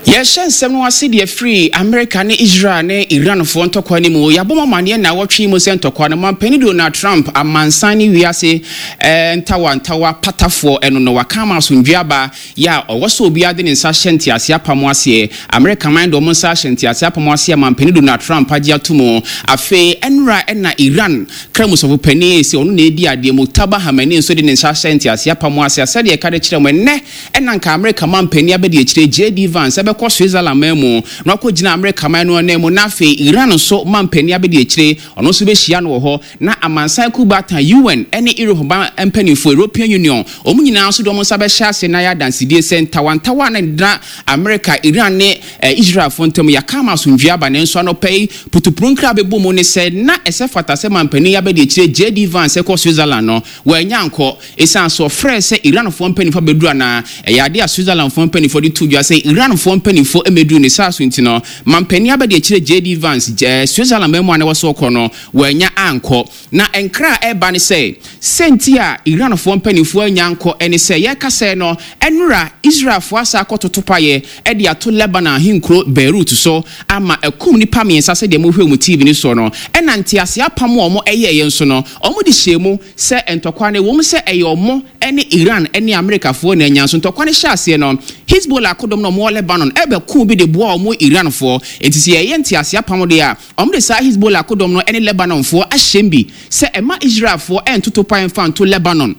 Yɛhyɛ nsɛm no ase deɛ firi Amerika ne Israel ne Iranfoɔ ntɔkwa no mu. Yɛabɔ mo amaneɛ nnawɔtwe yi mu sɛ ntɔkwa no, Mampanin Donald Trump, amansan ne wiase eh, ntawa ntawa patafoɔ ɛno no, waka ama asomdwoeɛ aba yɛ a ɔwɔ sɛ obiara de ne nsa hyɛ nteaseɛ apam aseɛ. Amerika man de wɔn nsa ahyɛ nteaseɛ apam aseɛ a Mampanin Donald Trump agye ato mu. Afei, ɛnora ɛna Iran Kramusɔfo panin sɛ ɔno na edi adeɛ, Mojtaba Khamenei nso de ne nsa ahyɛ nteaseɛ apam ase a sɛdeɛ ɛka de kyerɛ mo ɛnnɛ na anka Amerika manpanin abadiakyire JD Vance bɛkɔ Switzerland man mu na wakɔgyina Amerika man no ananmu na afei Iran nso manpanin abadiakyire ɔno nso bɛhyia no wɔ hɔ na amansan kuo baatan UN ne Europe ban mpanimfoɔ, European Union, wɔn nyinaa nso de wɔn nsa bɛhyɛ ase na ayɛ adansedie sɛ ntawantawa a na ɛdena Amerika, Iran ne Israelfoɔ ntam yɛaka ama asomdwoeɛ aba. Nanso anɔpa yi putupru nkra a bɛbɔ mu ne sɛ na ɛsɛ fata sɛ manpanin yi abadiakyire JD Vance kɔ Switzerland no, wannya ankɔ. Esiane sɛ ɔfrɛɛ sɛ Iranfoɔ mpanimfoɔ abɛduru anaa ɛyɛ adeɛ a Switzerlandfoɔ mpanimfoɔ de too dwa sɛ Iranfoɔ mpanimfoɔ mmɛduru ne saa so nti no, manpanin abadiakyire JD Vance Switzerland man mu a na ɛwɔ sɛ ɔkɔ no, wannya ankɔ. Na nkra a ɛreba ne sɛ, sɛ nti a Iranfoɔ mpanimfoɔ annya ankɔ ne sɛ, yɛreka sɛɛ no, ɛnora Israelfoɔ asan akɔtoto paeɛ de ato Lebanon ahenkuro Beirut so ama akum nnipa mmiɛnsa sɛdeɛ mohwɛ wɔ mo TV no soɔ no, ɛna nteaseɛ apam a wɔyɛeɛ nso no, wɔde hyɛɛ mu sɛ ntɔkwa no, ɛwom sɛ ɛyɛ wɔn ne Iran ne Amerikafoɔ na anya nso ntɔkwa no hyɛɛ aseɛ no, Hezbollah akodɔm no a wɔwɔ Lebanon bɛkoo bi de boaa wɔn Iranfoɔ. Enti sɛ yɛyɛ nteaseɛ apam deɛ a, Wɔde saa Hezbollah akodɔm no ne Lebanonfoɔ ahyɛm bi sɛ ɛmma Israelfoɔ ntoto pae mfa nto Lebanon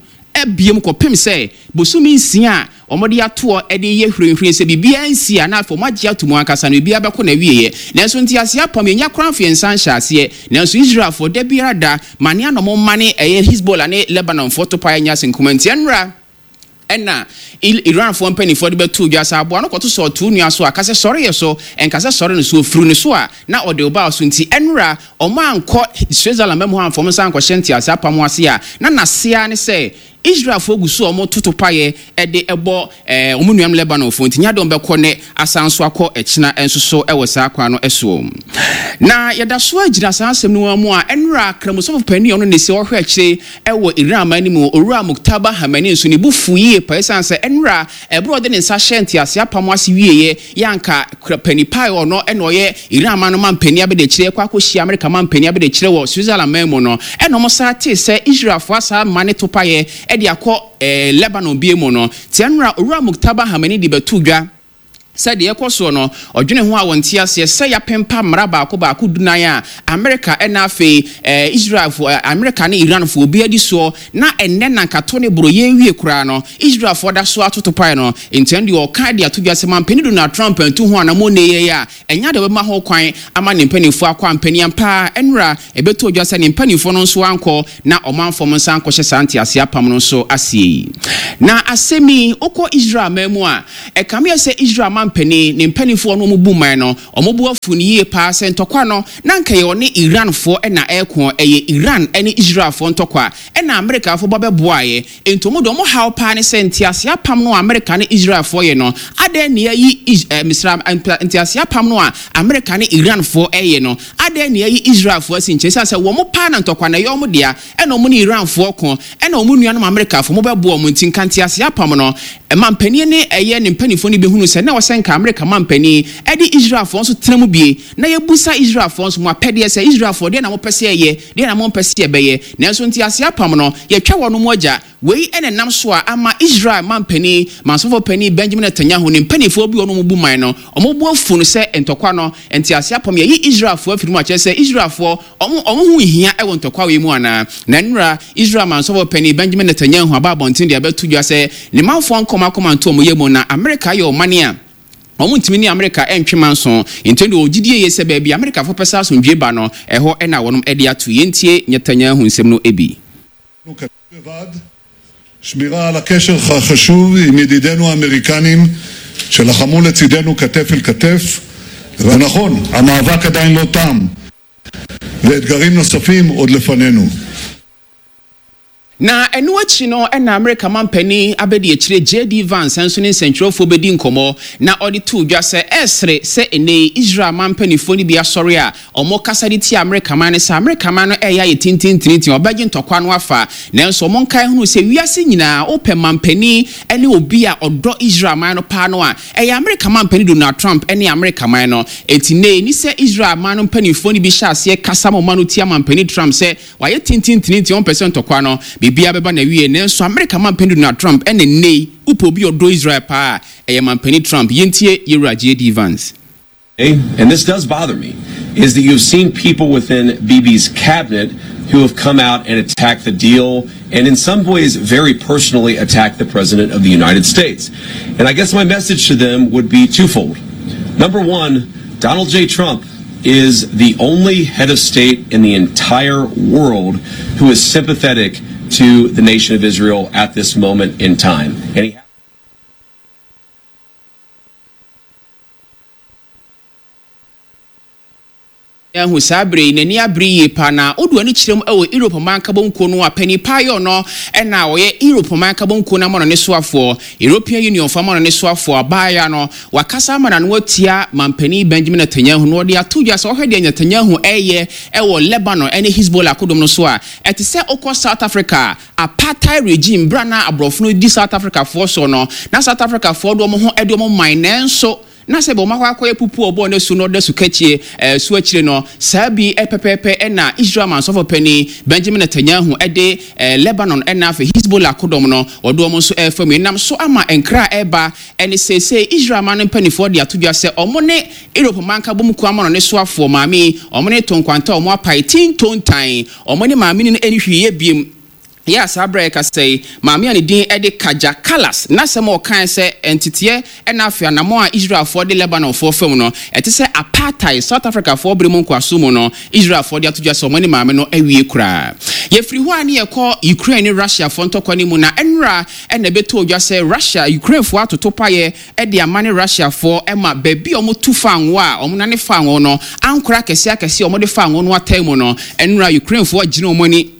biom kɔpem sɛ bosome nsia a wɔde atoɔ de reyɛ hwirenhwiren sɛ biribiara nsi a na afei wɔagye ato mu ankasa no biribiara bɛkɔ n'awieɛ. Nanso nteaseɛ apam yɛnnya koraa mfeɛ nsa nhyɛ aseɛ. Nanso Israelfoɔ da biara da mane a na wɔmane ɛyɛ Hezbollah ne Lebanonfoɔ topaeɛ nyɛ asenkuma nti ɛnnora Ɛnna Iranfoɔ mpanimfoɔ de bɛtoo dwa sɛ aboa no kɔto sɛ ɔtoo nua so a, ka sɛ sɔre yɛ so, ɛnka sɛ sɔre no so, ɔfiri ne so a, na ɔde wo baa so. Nti ɛnnora wɔankɔ Switzerland mma mu hɔ amfa wɔn nsa ankɔhyɛ nteaseɛ apam ase a, na n'ase ara ne sɛ Israelfoɔ gu so a wɔto topaeɛ de bɔ wɔn nuanom Lebanonfoɔ nti, nyɛ adeɛ a wɔbɛkɔ nnɛ asan nso akɔ ɛkyena nso so wɔ saa kwan no soɔ. Na yɛda so ara gyina saa asɛm no ara mu a, ɛnnora Kramusɔfo panin a ɔno na ɛsi ɔhwɛ akyire Wɔ Iran man no mu, Owura Mojtaba Khamenei nso ne bo fuw yiye paa esiane sɛ nnora bere a ɔde ne nsa hyɛɛ ntease apam ase wieeɛ yɛ anka panin pa a ɔno na ɔyɛ Iran man no manpanin abadiakyire rekɔ akɔhyia Amerika manpanin abadiakyire wɔ Switzerland man mu no ɛna wɔsan tee sɛ Israelfoɔ asan amane topaeɛ de akɔ Lebanon bio mu no. Tia nnora Owura Mojtaba Khamenei de bɛtoo dwa Sɛ deɛ ɛrekɔ soɔ no, ɔdwene ho a wɔnte aseɛ sɛ yɛapempa mmara baako baako dunan a Amerika ɛna afei ɛɛ Israelfoɔ, Amerika ne Iranfoɔ obiara di soɔ, na ɛnnɛ na anka to ne boro yɛrewie koraa no, Israelfoɔ da so ara toto pae no. Nti ɛno deɛ ɔka de ato dwa sɛ Mampanin Donald Trump antu ho anammɔn nnɛ yi a, ɛnyɛ adeɛ a ɔbɛma ho kwan ama ne mpanimfoɔ akɔ ampani. Ampa ara, ɛnnora ɛbɛtɔɔ dwa sɛ ne mpanimfoɔ no nso ankɔ na ɔmanfoɔ mo nsa ankɔhyɛ saa nteaseɛ apam no nso aseɛ yi. Na asɛm yi, wokɔ Israel man mu a, ɛkame yɛ sɛ Israel mampanin, ne mpanimfoɔ a wɔne wɔn bu man no, wɔn bo afu no yie paa sɛ ntɔkwa no, na anka ɛyɛ ɔne Iranfoɔ na ɛreko, ɛyɛ Iran ne Israelfoɔ ntɔkwa, ɛna Amerikafoɔ ba bɛboaeɛ. Enti wɔn deɛ wɔn haw paa ne sɛ nteaseɛ apam no a Amerika ne Israelfoɔ yɛ no, adɛn na yɛayi Is, eh, mesra, nteaseɛ apam no a Amerika ne Iranfoɔ ɛyɛ no, adɛn na yɛayi Israelfoɔ asi nkyɛn? Esiane sɛ wɔn paa na ntɔkwa no ɛyɛ wɔn dea, ɛna wɔn ne Iranfoɔ ko, ɛna wɔn nuanom Amerikafoɔ wɔbɛboa wɔn nti, nka nteaseɛ apam no, mampanin ne ɛyɛ ne mpanimfoɔ no bɛhunu sɛ na ɛwɔ sɛ nka Amerika mampanin de Israelfoɔ nso tena mu bie, na yɛbusa Israelfoɔ nso mo apɛdeɛ sɛ, Israelfoɔ, deɛn na mopɛ sɛ yɛyɛ? Deɛn na mompɛ sɛ yɛbɛyɛ? Nanso nteaseɛ apam no, yɛtwa wɔnom agya. Wei na ɛnam so a ama Israel manpanin, mansɔfoɔ panin Benjamin Netanyahu ne mpanimfoɔ bi a wɔn bu man no, wɔn bo afu no sɛ ntɔkwa no, nteaseɛ apam, yɛayi Israelfoɔ afiri mu a kyerɛ sɛ Israelfoɔ, wɔn, wɔn ho nhia wɔ ntɔkwa wei mu anaa? Na nnora, Israel mansɔfoɔ panin Benjamin Netanyahu aba abɔnten de abɛto dwa sɛ ne manfoɔ nkɔ wɔn akoma nto wɔn yam na Amerika ayɛ ɔman a Wɔntumi ne Amerika ntwe manso. Enti ɛnde wɔwɔ gyidie yie sɛ baabi a Amerikafoɔ pɛ sɛ asomdwoeɛ ba no, ɛhɔ na wɔnom de ato. Yɛntie Netanyahu nsɛm no bi. שמירה על הקשר החשוב עם ידידינו האמריקנים שלחמו לצידנו כתף אל כתף. ונכון, המאבק עדיין לא תם, ואתגרים נוספים עוד לפנינו. Na ɛno akyi no na Amerika manpanin abadiakyire JD Vance nso ne nsɛntwerɛfoɔ bɛdi nkɔmmɔ na ɔde too dwa sɛ ɛresere sɛ ɛnnɛ yi Israel man mpanimfoɔ no bi asɔre a wɔkasa de tia Amerika man no sɛ Amerika man no reyɛ ayɛ tintintintin wɔbɛgye ntɔkwa no afa. Nanso wɔnkae hunu sɛ wiase nyinaa wopɛ manpanin ne obi a ɔdɔ Israel man no paa no a, ɛyɛ Amerika manpanin Donald Trump ne Amerika man no. Enti nnɛ yi ɛni sɛ Israel man no mpanimfoɔ no bi hyɛ aseɛ kasa ma wɔn ano tia manpanin Trump sɛ Wayɛ tintintin nti ɔmpɛ sɛ ntɔkwa no biribiara bɛba n'awiei. Nanso Amerika Manpanin Donald Trump ɛna nnɛ yi wopɛ obi a ɔdɔ Israel paa a, ɛyɛ Manpanin Trump. Yɛntie Yɛwura JD Vance. And this does bother me, is that you've seen people within Bibi's cabinet who have come out and attacked the deal and in some ways very personally attacked the President of the United States. And I guess my message to them would be twofold. Number one, Donald J. Trump is the only head of state in the entire world who is sympathetic to the nation of Israel at this moment in time. And he Ahu saa bere yi, n'ani abere yie paa na odu ani kyerɛ mu wɔ Europe Man Nkabom Kuo no a panin paa yɛ ɔno na ɔyɛ Europe Man Nkabom Kuo no amanɔne soafoɔ, European Union foɔ amanɔne soafoɔ, abaayewa no wakasa ama n'ano atia manpanin Benjamin Netanyahu na ɔde ato dwa sɛ ɔhwɛ deɛ Netanyahu reyɛ wɔ Lebanon ne Hezbollah akodɔm no so a, ɛte sɛ wokɔ South Africa a apartheid regime berɛ a na aborɔfo no di South Africafoɔ soɔ no, na South Africafoɔ de wɔn ho de wɔn man nanso Na sɛ bɛ wɔakɔ akɔyɛ pupu a ɔbɔɔ n'asu na ɔda sukatie so akyire no, saa bi pɛpɛɛpɛ na Israel mansɔfo panin Benjamin Netanyahu de Lebanon na afei Hezbollah akodɔm no, wɔde wɔn nso refa mu. Ɛnam so ama nkra a ɛreba ne seesei Israel man no mpanimfoɔ de ato dwa sɛ wɔn ne Europe man nkabom kuo amanɔne soafoɔ maame yi, wɔn ne to nkwanta a wɔapae tintontan, wɔn ne maame no nni hwee yɛ biom. Yɛ a saa berɛ a yɛkasa yi, maame a ne din de Kaja Kallas, n'asɛm a ɔkae sɛ nteteɛ na afei anammɔn a Israelfoɔ de Lebanonfoɔ fam no, ɛte sɛ apartheid, South Africafoɔ bere mu nkoasom mu no, Israelfoɔ de ato dwa sɛ wɔne maame no awie koraa. Yɛfiri hɔ a ne yɛkɔ Ukraine ne Russiafoɔ ntɔkwa no mu na nnora na ɛbɛtɔɔ dwa sɛ Russia, Ukrainefoɔ atoto paeɛ de ama ne Russiafoɔ ma baabi a wɔtu fango a wɔnane fango no, ankorɛ akɛseɛ akɛseɛ a wɔde fango no ataa mu no, nnora Ukrainefoɔ agyina wɔn ani.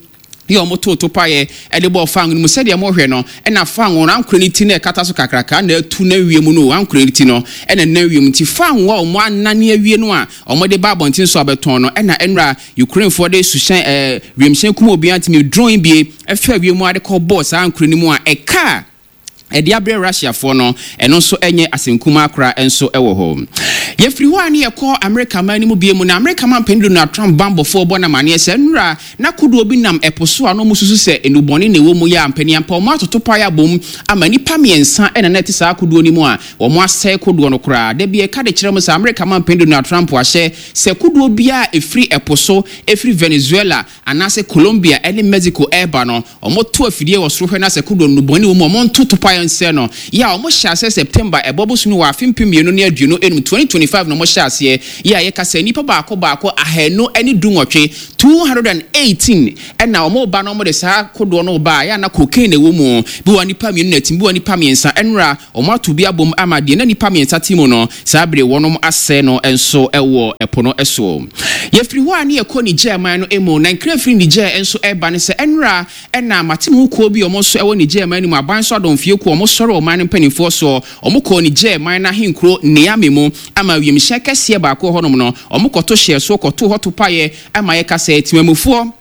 Yɛ a wɔtoo topaeɛ de bɔɔ fango no mu. Sɛdeɛ mohwɛ no, na fango no ankorɛ no ti na ɛkata so kakraka na atu nam wiem no o, ankorɛ no ti no na ɛnam wiem. Nti fango a wɔanane awie no a wɔde ba abɔnten so abɛtɔn no, ɛna nnora Ukrainefoɔ de suhyɛn, ɛɛ, wiemhyɛn kum obiara ntumi, drone bie, faa wiem ara de kɔbɔɔ saa ankorɛ no mu a ɛkaa ɛde abrɛ Russiafoɔ no, ɛno nso nyɛ asɛm kumaa koraa nso wɔ hɔ. Yɛfiri hɔ a ne yɛkɔ Amerika man no mu bio mu, na Amerika manpanin Donald Trump banbɔfoɔ bɔ no amaneɛ sɛ nnora na kodoɔ bi nam ɛpo so a na wɔsusu sɛ nnubɔne na ɛwɔ mu yɛ ampaniampa wɔn atoto pae abom ama nnipa mmiɛnsa na na ɛte saa kodoɔ no mu a wɔn asɛe kodoɔ no koraa. Da bi ɛka de kyerɛ mo sɛ Amerika manpanin Donald Trump ahyɛ sɛ kodoɔ biara a ɛfiri ɛpo so ɛfiri Venezuela anaasɛ Colombia ne Mexico reba no, wɔto afidie wɔ soro hwɛ na sɛ kodoɔ nnubɔne wɔ mu a, wɔnto topaeɛ nsɛe no. Yɛ a wɔhyɛɛ aseɛ September ɛbɔ bosome wɔ afe 2025, 2025 na wɔhyɛɛ aseɛ. Yɛ a yɛka sɛ nnipa baako baako 218, 218, na wɔreba na wɔde saa kodoɔ no reba a, yɛ a na cocaine na ɛwɔ mu. Bi wɔ hɔ a nnipa mmienu na ɛte mu, bi wɔ hɔ a nnipa mmiɛnsa. Ɛnora Wɔato bi abom ama deɛ na nnipa mmiɛnsa te mu no, saa bere wɔnom asɛe no nso wɔ ɛpo no so. Yɛfiri hɔ a ne yɛkɔ Niger man no mu, na nkra firi Niger nso reba ne sɛ ɛnora na mate-me-ho kuo bi a wɔn nso wɔ Niger man no mu, aban so adɔmfie kuo a wɔsɔre ɔman no mpanimfoɔ soɔ, wɔkɔɔ Niger man no ahenkuro Niamey mu ama wiemhyɛn kɛseɛ baako wɔ hɔnom no, wɔkɔto hyɛɛ soɔ kɔtoo hɔ topaeɛ ma yɛka sɛ temamufoɔ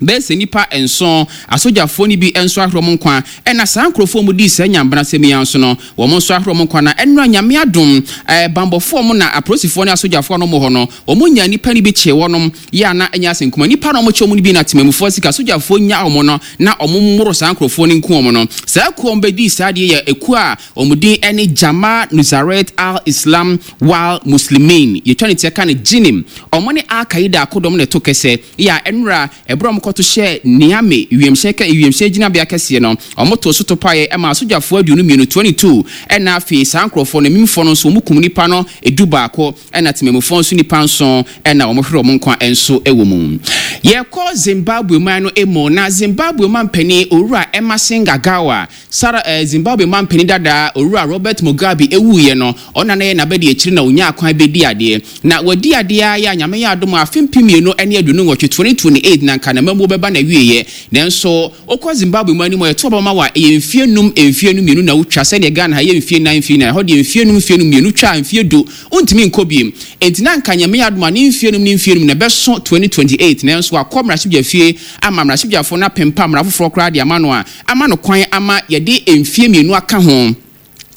Bɛyɛ sɛ nnipa nson, asogyafoɔ no bi nso ahwere wɔn nkwa, ɛna saa nkorɔfoɔ a wɔdii saa nyambrasɛm yi ara nso no, wɔn nso ahwere wɔn nkwa, na ɛnora Nyame adom, banbɔfoɔ wɔn na apolisifoɔ ne asogyafoɔ a na wɔn wɔ hɔ no, wɔn nyaa nnipa no bi kyee wɔnom, yɛ a na ɛnyɛ asɛm kumaa, nnipa no a wɔkyee wɔn no bi na temamufoɔ sika asogyafoɔ nyaa wɔn no, na wɔn mmoro saa nkorɔfoɔ no nku wɔn no. Saa kuo a wɔn bɛdii saa adeɛ yi yɛ ekuo a wɔn din ne Jamaa Nusairat al-Islam wal Muslimin, yɛtwa ne tia ka no JNIM, wɔn ne Al-Qaeda akodɔm na ɛto kɛsɛ. Yɛ a nnora, ɛberɛ a wɔkɔto hyɛɛ Niamey wiemhyɛn kɛ wiemhyɛn gyinabea kɛseɛ no, wɔtoo so topaeɛ maa asogyafoɔ 22, 22, ɛna afei saa nkorɔfoɔ no, amimfoɔ no nso wɔkum nnipa no dubaako, ɛna temamufoɔ nso nnipa nson na wɔhweree wɔn nkwa nso wɔ mu. Yɛkɔ Zimbabwe man no mu, na Zimbabwe mampanin Owura Emmerson Mnangagwa Sara eh, Zimbabwe manpanin dada Owura Robert Mugabe wuiɛ no, ɔno na na ɛyɛ n'abadiakyiri na ɔnyaa kwan bɛdii adeɛ. Na wadi adeɛ ara yɛ a Nyame yɛ adom a afe 2028, 2028, na anka n'amamuo. n'amammuo bɛba n'awieɛ. Nanso wokɔ Zimbabwe mu anim a, yɛto aba ma wo a, ɛyɛ mfeɛ num, mfeɛ num mmienu na wotwa, sɛdeɛ Ghana ha yɛ mfeɛ nnan, mfeɛ nnan, ɛhɔ deɛ mfeɛ num, mfeɛ num mmienu twa a, mfeɛ du, wontumi nkɔ bio. Enti na anka Nyame adom a, ne mfeɛ num ne mfeɛ num no ɛbɛso 2028, nanso wakɔ mmarahyɛbdwafie ama mmarahyɛbdwafoɔ no apempa mmara foforɔ koraa de ama no a, ama no kwan ama yɛde mfeɛ mmienu aka ho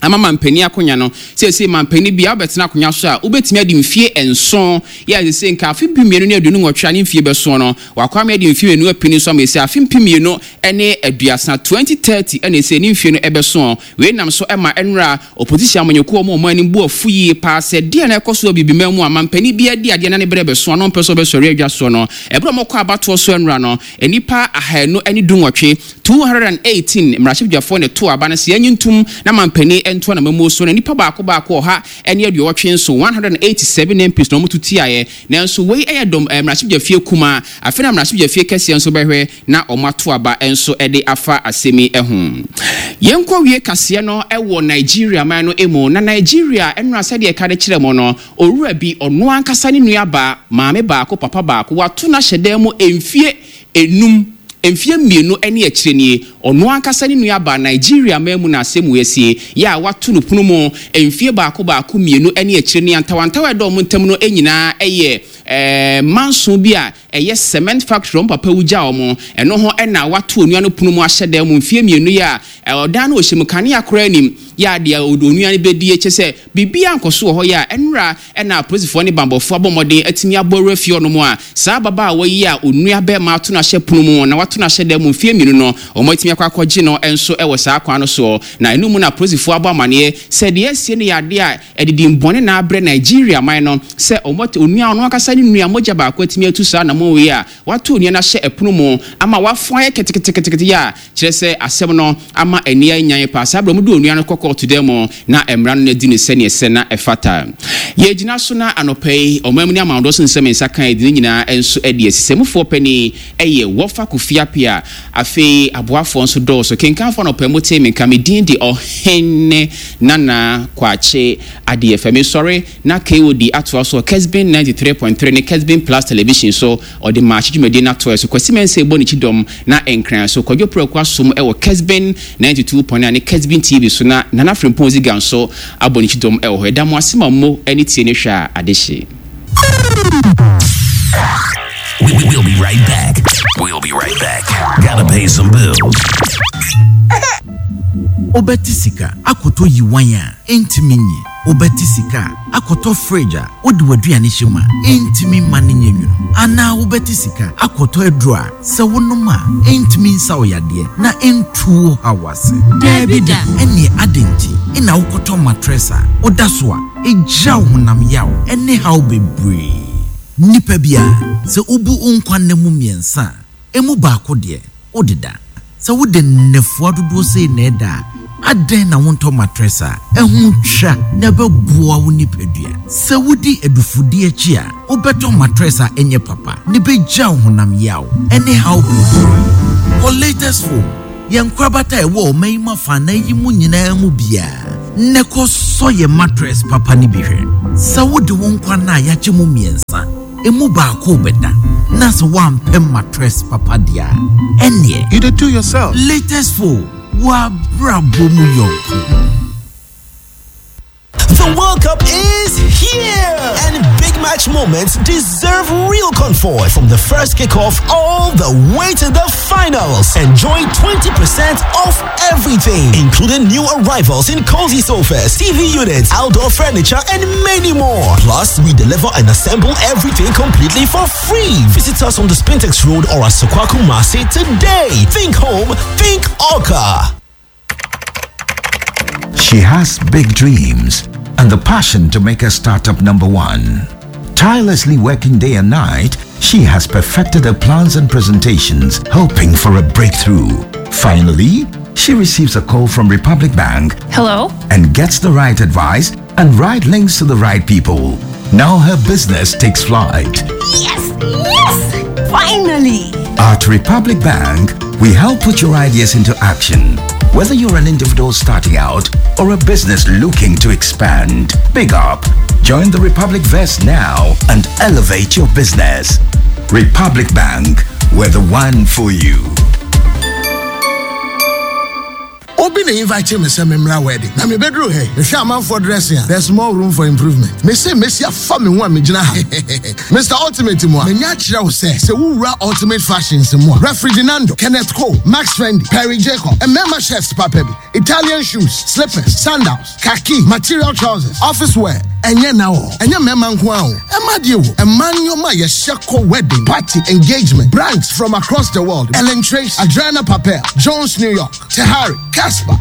ama mampanin akonya no. Seesei mampanin biara wobɛtena akonya so a, wobɛtumi adi mfeɛ nson. Yɛ a seesei nka afe 2028 a ne mfeɛ bɛsoɔ no, wakɔ ama yɛde mfeɛ mmienu apini so ama ɛsei afe 2030, 2030, ɛna ɛsei ne mfeɛ no ɛbɛsoɔ. Wei nam so ma ɛnora opposition amanyɔkuo a wɔn wɔn anim bu afu yie paa sɛ deɛ na ɛkɔ so wɔ Abibiman mu a mampanin biara di adeɛ na ne berɛ bɛso a na ɔmpɛ sɛ ɔbɛsɔre adwa soɔ no. Ɛberɛ a wɔkɔ abatoɔ so ɛnora no, nnipa 218, 218, mmarahyɛbadwafoɔ na ɛtoo aba no sɛ yɛnye ntom na mampanin ntoa n'amammuo so na nnipa baako baako 187, 187 MPs na wɔto tiaeɛ. Nanso wei yɛ dɔm mmarahyɛbadwafie kumaa. Afei na mmarahyɛbadwafie kɛseɛ nso bɛhwɛ na wɔato aba nso de afa asɛm yi ho. Yɛnkɔ wie kaseɛ no wɔ Nigeria man no mu. Na Nigeria nnora sɛdeɛ yɛka de kyerɛ mo no, owura bi, ɔno ankasa ne nuabaa, maame baako, papa baako, wato no ahyɛ dan mu mfie nnum, mfeɛ mmienu ne akyire nie, ɔno ankasa ne nuabaa, Nigeria man mu na asɛm wei asie, yɛ a wato no pono mu mfeɛ baako baako mmienu ne akyire nie, antawantawa a ɛda wɔn ntam no nyinaa yɛ manso bi a ɛyɛ cement factory a wɔn papa wu gyaa wɔn, ɛno ho na wato onua no pono mu ahyɛ dan mu mfeɛ mmienu yi a ɔdan no ɔhyɛ mu, kanea koraa nnim, yɛ a deɛ onua no bɛdie, kyerɛ sɛ biribiara nkɔ so wɔ hɔ yɛ a ɛnora na apolisifoɔ ne banbɔfoɔ abɔ mmɔden atumi abɔ awura fie hɔnom a saa ababaawa yi a onua barima ato no ahyɛ pono mu na wato no ahyɛ dan mu mfeɛ mmienu no, wɔatumi akɔ akɔgye no nso wɔ saa kwan no soɔ. Na ɛno mu na apolisifoɔ abɔ amaneɛ sɛ deɛ asie no yɛ adeɛ a ɛde din bɔne na abrɛ Nigeria man no sɛ wɔn onua ɔno ankasa ne nua mogya baako atumi atu saa anammɔn wei a wato onua no ahyɛ ɛpono mu ama wafɔn ayɛ keteketekete yi a Kyerɛ sɛ, asɛm no ama ani anyan paa. Saa bere a wɔde onua no kɔ kɔɔto dan mu na mmara no adi no sɛnea ɛsɛ na ɛfata. Yɛregyina so na anɔpa yi, ɔman mu ne amanɔdɔ so nsɛm nsa ka adi no nyinaa nso adi asi. Sɛmufoɔ panin yɛ Wɔfa Kofi Appiah. Afei aboafoɔ nso dɔɔso. Kenkanfoɔ anɔpa yi motee me nka. Me din de Ɔhene Nana Kwakye Adeɛfɛ. Mesɔre na KOD atoa so wɔ Kesbin 93.3 ne Kesbin Plus Television so. Ɔde Maakye dwumadie no atoa so. Kwasi Mensah rebɔ ne kyidɔm na Nkran so. Kwadwo Preko asom wɔ Kesbin 92.9 ne Kesbin TV so na Nana Frimpong Ziga nso abɔ ne kyidɔm wɔ hɔ. Yɛda mo ase ma mo ani tie ne hwɛ a adehye. We'll be right back. We'll be right back. Gotta pay some bills. Wobɛte sika akɔtɔ yiwan a ɛntumi nyi. Wobɛte sika akɔtɔ fridge a wode w'aduane hyɛ mu a ɛntumi mma no nyɛ nwunu. Anaa wobɛte sika akɔtɔ aduro a sɛ wonom a ɛntumi nsa wo yadeɛ na ɛntu wo haw ase. Daabi da! Ɛnneɛ adɛn nti na wokɔtɔ matress a woda so a ɛgya wo honam yaw ne haw bebree? Nipa biara, sɛ wobu wo nkwa nna mu mmiɛnsa a, emu baako deɛ, wodeda. Sɛ wode nnafua dodoɔ sei na ɛda a, adɛn na wontɔ matress a ɛho twa na ɛbɛboa wo nipadua? Sɛ wodi adufudie akyi a, wobɛtɔ matress a ɛnyɛ papa na ɛbɛgya wo honam yaw ne haw bebree. Kɔ Latest Phone, yɛn nkorabata a ɛwɔ ɔman yi mu afanan yi mu nyinaa mu biara, na kɔsɔ yɛn matress papa no bi hwɛ. Sɛ wode wo nkwa nna a yɛakyɛ mu mmiɛnsa, Emu baako rebɛda na sɛ woampɛ mattress papa deɛ a, ɛnneɛ. You dey do yourself. Latest phone, w'abrabɔ mu yɔnko. The World Cup is here! And big match moments deserve real comfort from the first kickoff all the way to the finals. Enjoy 20% off everything, including new arrivals in cozy sofas, TV units, outdoor furniture, and many more. Plus, we deliver and assemble everything completely for free. Visit us on the Spintex Road or at Sokwaku Masi today. Think home, think Orca. She has big dreams and the passion to make her startup number one. Tirelessly working day and night, she has perfected her plans and presentations, hoping for a breakthrough. Finally, she receives a call from Republic Bank. Hello? And gets the right advice and right links to the right people. Now her business takes flight. Yes! Yes! Finally! At Republic Bank, we help put your ideas into action. Whether you're an individual starting out or a business looking to expand, big up. Join the Republic Vest now and elevate your business. Republic Bank, we're the one for you. Obi na invite me sɛ memmra wedding na mebɛduru ha yi mehwɛ amanfoɔ dressing a there's more room for improvement mese mesi afa me ho a megyina ha Mr Ultimate mu a manya akyerɛ wo sɛ sɛ wowura Ultimate Fashions mu a Refriginando Kenneth Cole Max Fendi Perry Jacob mmarima chefs papa bi Italian shoes slippers sandals khaki material trousers office wear ɛnyɛ na wɔ ɛnyɛ mmarima nko ara o ɛma deɛ wo ɛma nneɛma a yɛhyɛ kɔ wedding party engagement brands from across the world Ellen Tracy Adriana Papel Jones New York Tahari Casper.